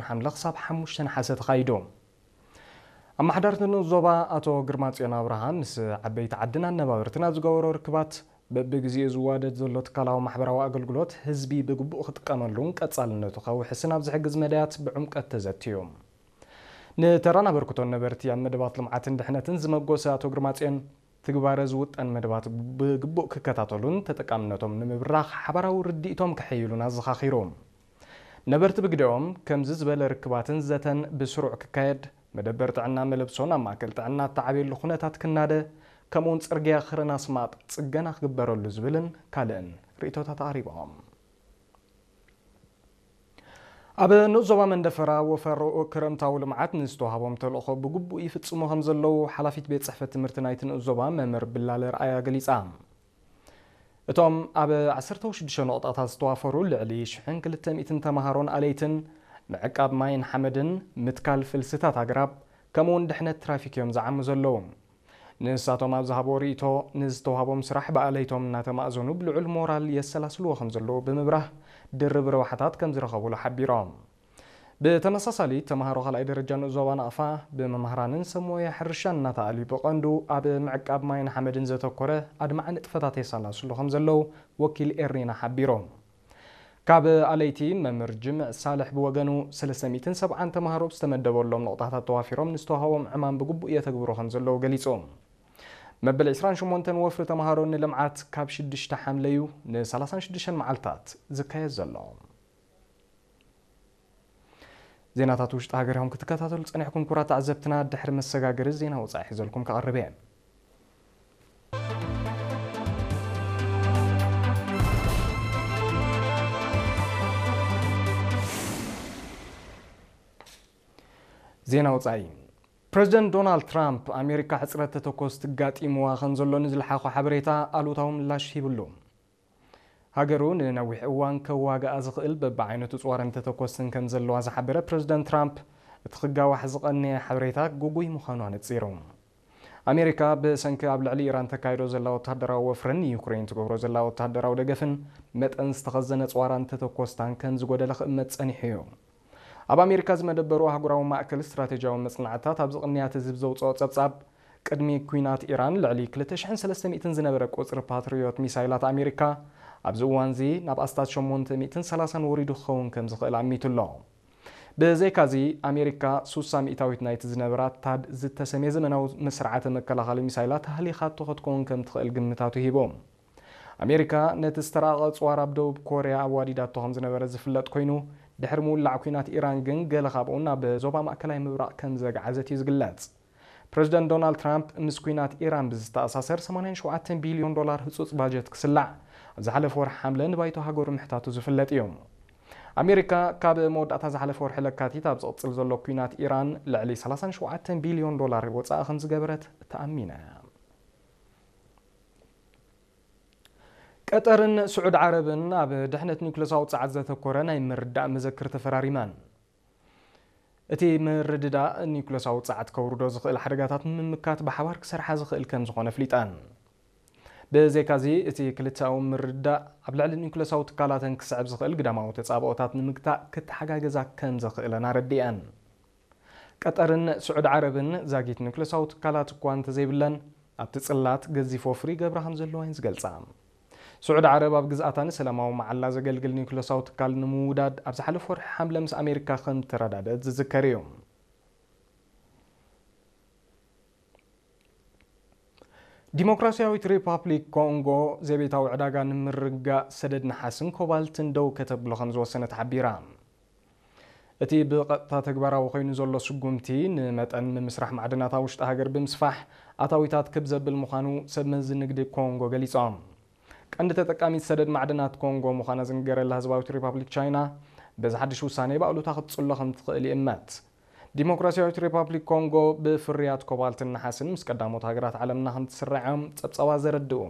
ሓምለ ክሳብ ሓሙሽተ ነሓሰ ተኻይዱ። ኣመሓዳሪ ንኡስ ዞባ ኣቶ ግርማጽዮን ኣብርሃ ምስ ዓበይቲ ዓድን ኣነባበርትን ኣብ ዝገበሮ ርክባት፣ በብግዜኡ ዝዋደድ ዘሎ ትካላዊ ማሕበራዊ ኣገልግሎት ህዝቢ ብግቡእ ክጥቀመሉን ቀጻልነቱ ከውሕስን ኣብ ዝሕግዝ መዳያት ብዕምቀት ተዘትዩ። ንተራን ኣበርክቶን ነበርቲ ኣብ መደባት ልምዓትን ድሕነትን ዝመጎሰ ኣቶ ግርማጽዮን፣ ትግባረ ዝውጠን መደባት ብግቡእ ክከታተሉን ተጠቃምነቶም ንምብራኽ ሓባራዊ ርድኢቶም ከሐይሉን ኣዘኻኺሩ። ነበርቲ ብግደኦም፣ ከምዚ ዝበለ ርክባትን ዘተን ብስሩዕ ክካየድ፣ መደበር ጥዕና መለብሶ ናብ ማእከል ጥዕና እተዓብየሉ ኩነታት ክናደ፣ ከምኡውን ጽርግያ ክረን ኣስማጥ ጽገና ክግበረሉ ዝብልን ካልእን ርእይቶታት ኣቕሪቦም። ኣብ ንኡስ ዞባ መንደፈራ ወፈር ክረምታዊ ልምዓት ንዝተዋህቦም ተልእኾ ብግቡእ ይፍጽሙ ከም ዘለዉ ሓላፊት ቤት ጽሕፈት ትምህርቲ ናይቲ ንኡስ ዞባ መምህር ብላለ ርኣያ ገሊጻ። እቶም ኣብ ዓሰርተ ሽዱሽተ ነቑጣታት ዝተዋፈሩ ልዕሊ ሽሕን ክልተ ሚእትን ተምሃሮን ኣለይትን ምዕቃብ ማይን ሓመድን፣ ምትካል ፍልስታት ኣግራብ፣ ከምኡውን ድሕነት ትራፊክ እዮም ዝዓሙ ዘለዉ። ንሳቶም ኣብ ዝሃቦ ርእይቶ፣ ንዝተዋህቦም ስራሕ ብኣለይቶም እናተማእዘኑ ብልዑል ሞራል የሰላስልዎ ከም ዘለዉ ብምብራህ፣ ድርብ ረብሓታት ከም ዝረኸቡሉ ሓቢሮም። ብተመሳሳሊ፣ ተምሃሮ ካልኣይ ደረጃ ንኡስ ዞባ ናቕፋ ብመምህራንን ሰብ ሞያ ሕርሻን እናተኣልዩ ብቐንዱ ኣብ ምዕቃብ ማይን ሓመድን ዘተኮረ ኣድማዒ ንጥፈታት የሰላስሉ ከም ዘለዉ ወኪል ኤሪና ሓቢሮም። ካብ ኣለይቲ መምህር ጅምዕ ሳልሕ ብወገኑ፣ ሰለስተ ሚእትን ሰብዓን ተምሃሮ ዝተመደበሎም ነቑጣታት ተዋፊሮም ንዝተዋህቦም ዕማም ብግቡእ የተግብሩ ከም ዘለዉ ገሊጹ። መበል ዕስራን ሸሞንተን ወፍሪ ተምሃሮ ንልምዓት ካብ ሽዱሽተ ሓምለዩ ንሰላሳን ሽዱሽተን መዓልታት ዝካየድ ዘሎ። ዜናታት ውሽጢ ሃገር ኢኹም ክትከታተሉ ጸኒሕኩም ክቡራት ተዓዘብትና፣ ድሕሪ መሰጋገሪ ዜና ወጻኢ ሒዘልኩም ክቐርብ እየ። ዜና ወጻኢ። ፕረዚደንት ዶናልድ ትራምፕ፣ ኣሜሪካ ሕጽረት ተተኮስቲ ጋጢምዋ ከም ዘሎ ንዝለሓኾ ሓበሬታ ኣሉታዊ ምላሽ ሂብሉ። ሃገሩ ንነዊሕ እዋን ከዋግኣ ዝኽእል በብዓይነቱ ጽዋርን ተተኮስትን ከም ዘለዋ ዝሓበረ ፕረዚደንት ትራምፕ፣ እቲ ክጋዋሕ ዝቐነየ ሓበሬታ ግጉይ ምዃኑ ኣነጺሩ። ኣሜሪካ ብሰንኪ ኣብ ልዕሊ ኢራን ተካይዶ ዘላ ወተሃደራዊ ወፍርን ንዩክሬን ትገብሮ ዘላ ወተሃደራዊ ደገፍን፣ መጠን ዝተኸዘነ ጽዋራን ተተኮስታን ከም ዝጎደለ ክእመት ጸኒሑ እዩ። ኣብ ኣሜሪካ ዝመደበሩ ኣህጉራዊ ማእከል ስትራቴጂያዊ መጽናዕትታት ኣብዚ ቅንያት ህዝቢ ዘውጽኦ ጸብጻብ፣ ቅድሚ ኲናት ኢራን ልዕሊ ክልተ ሽሕን ሰለስተ ሚእትን ዝነበረ ቁጽሪ ፓትሪዮት ሚሳይላት ኣሜሪካ፣ ኣብዚ እዋንዚ ናብ ኣስታት ሸሞንተ ሚእትን ሰላሳን ወሪዱ ክኸውን ከም ዝኽእል ኣሚቱ ኣሎ። ብዘይካዚ፣ ኣሜሪካ ሱሳ ሚእታዊት ናይቲ ዝነበራ ታድ ዝተሰምየ ዘመናዊ ስርዓተ መከላኸሊ ሚሳይላት ሃሊኻቶ ክትከውን ከም ትኽእል ግምታቱ ሂቡ። ኣሜሪካ ነቲ ዝተራቐቐ ጽዋር ኣብ ደቡብ ኮርያ ኣዋዲዳቶ ከም ዝነበረ ዝፍለጥ ኮይኑ፣ ድሕሪ ምውላዕ ኲናት ኢራን ግን ገለ ካብኡ ናብ ዞባ ማእከላይ ምብራቕ ከም ዘግዓዘት እዩ ዝግለጽ። ፕረዚደንት ዶናልድ ትራምፕ ምስ ኲናት ኢራን ብዝተኣሳሰር ሰማንያን ሸውዓተን ቢልዮን ዶላር ህጹጽ ባጀት ክስላዕ ኣብ ዝሓለፈ ወርሒ ሓምለ ንባይቶ ሃገሩ ምሕታቱ ዝፍለጥ እዩ። ኣሜሪካ ካብ መወዳእታ ዝሓለፈ ወርሒ ለካቲት ኣብ ዝቕጽል ዘሎ ኲናት ኢራን ልዕሊ ሰላሳን ሸውዓተን ቢልዮን ዶላር ወጻኢ ከም ዝገበረት ተኣሚና እያ። ቀጠርን ስዑድ ዓረብን ኣብ ድሕነት ኒውክለሳዊ ጸዓት ዘተኮረ ናይ ምርዳእ መዘክር ተፈራሪመን። እቲ ምርድዳእ ኒውክለሳዊ ጸዓት ከውርዶ ዝኽእል ሓደጋታት ንምምካት ብሓባር ክሰርሓ ዝኽእል ከም ዝኾነ ኣፍሊጠን። ብዘይካዚ፣ እቲ ክልተኣዊ ምርድዳእ ኣብ ልዕሊ ኒውክለሳዊ ትካላተን ክስዕብ ዝኽእል ግዳማዊ ተጻብኦታት ንምግታእ ክተሓጋገዛ ከም ዘኽእለን ኣረዲአን። ቀጠርን ስዑድ ዓረብን ዛጊት ኒውክለሳዊ ትካላት እኳ እንተዘይብለን፣ ኣብቲ ጽላት ገዚፍ ወፍሪ ይገብራ ከም ዘለዋ እየን ዝገልጻ። ስዑድ ዓረብ ኣብ ግዝኣታ ንሰላማዊ መዓላ ዘገልግል ኒውክለሳዊ ትካል ንምውዳድ ኣብ ዝሓለፈ ወርሒ ሓምለ ምስ ኣሜሪካ ከም ተረዳደት ዝዝከር እዩ። ዲሞክራሲያዊት ሪፓብሊክ ኮንጎ ዘቤታዊ ዕዳጋ ንምርጋእ ሰደድ ነሓስን ኮባልትን ደው ከተብሎ ከም ዝወሰነት ሓቢራ። እቲ ብቐጥታ ተግባራዊ ኮይኑ ዘሎ ስጉምቲ ንመጠን ምምስራሕ ማዕድናት ኣብ ውሽጢ ሃገር ብምስፋሕ ኣታዊታት ክብ ዘብል ምዃኑ ሰብ መዚ ንግዲ ኮንጎ ገሊጾም። ቀንዲ ተጠቃሚት ሰደድ ማዕድናት ኮንጎ ምዃና ዝንገረላ ህዝባዊት ሪፓብሊክ ቻይና በዚ ሓድሽ ውሳኔ ብኣሉታ ክትጽሎ ከም ትኽእል ይእመት። ዲሞክራሲያዊት ሪፓብሊክ ኮንጎ ብፍርያት ኮባልትን ነሓስን ምስ ቀዳሞት ሃገራት ዓለምና ከም ትስራዕ እዮም ጸብጻባት ዘረድኡ።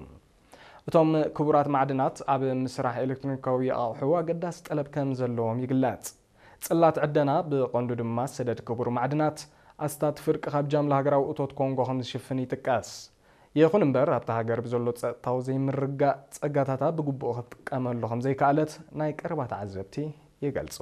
እቶም ክቡራት ማዕድናት ኣብ ምስራሕ ኤሌክትሮኒካዊ ኣቑሑ ኣገዳሲ ጠለብ ከም ዘለዎም ይግለጽ። ጽላት ዕደና፣ ብቐንዱ ድማ ሰደድ ክቡር ማዕድናት፣ ኣስታት ፍርቂ ካብ ጃምላ ሃገራዊ እቶት ኮንጎ ከም ዝሽፍን ይጥቀስ። ይኹን እምበር፣ ኣብታ ሃገር ብዘሎ ጸጥታዊ ዘይምርጋእ ጸጋታታ ብግቡእ ክትጥቀመሉ ከም ዘይከኣለት ናይ ቀረባ ተዓዘብቲ ይገልጹ።